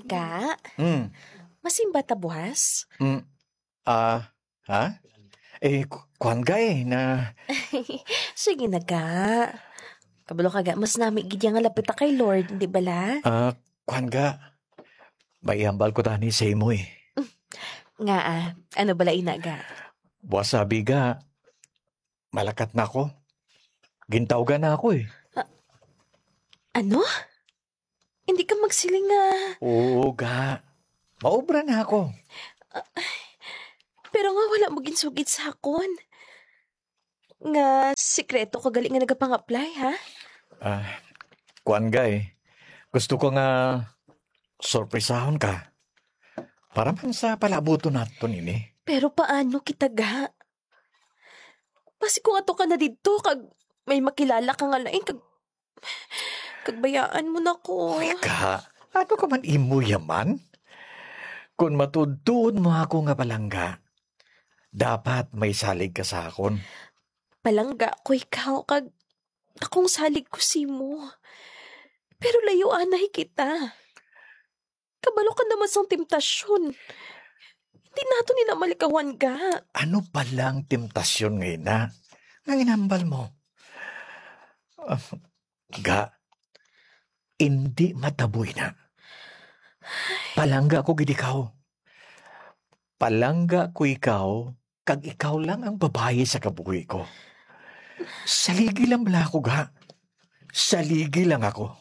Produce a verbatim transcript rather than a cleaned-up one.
Ga, Hmm. Masimba ta buwas? Hmm. Ah, ha? Eh, ku-, kuwan ga eh, na Sige na, ga. Kabalo ka, ga, mas nami gid ya nga lapit ta kay Lord, di bala? Ah, kuwan ga. May ihambal ko tani sa imo eh. Nga, ah, ano bala ina, ga? Buwas sabi ga, malakat na ako. Gintawgan na ako eh. Ah, ano? Hindi ka magsiling nga Oo, ga. Maobra na ako. Pero nga wala mo ginsugid sa akon. Nga sikreto ka gali nga nagapang-apply, ha? Ah, kuwan, ga, eh. Gusto ko nga sorpresahon ka. Para man sa palabuton naton ini. Pero paano kita, ga? Basi kung ato ka na didto, kag may makilala ka nga lain, kag, kag bayaan mo na ko. Uy, ga, ano ka man imo yaman? Kung matuod-tuod mo ako nga palangga, dapat may salig ka sa akon. Palangga ko ikaw, kag akong salig ko simo. Pero layo anay kita. Kabalo ka naman sang temptasyon. Hindi nato ni na malikawan, ga. Ano pa lang temptasyon nga ina? Nga ginambal mo? Ah, ga, hindi mataboy na. Palangga ko gid ikaw. Palangga ko ikaw, kag ikaw lang ang babayi sa kabuhi ko. Saligi lang bala ako, ga. Saligi lang ako.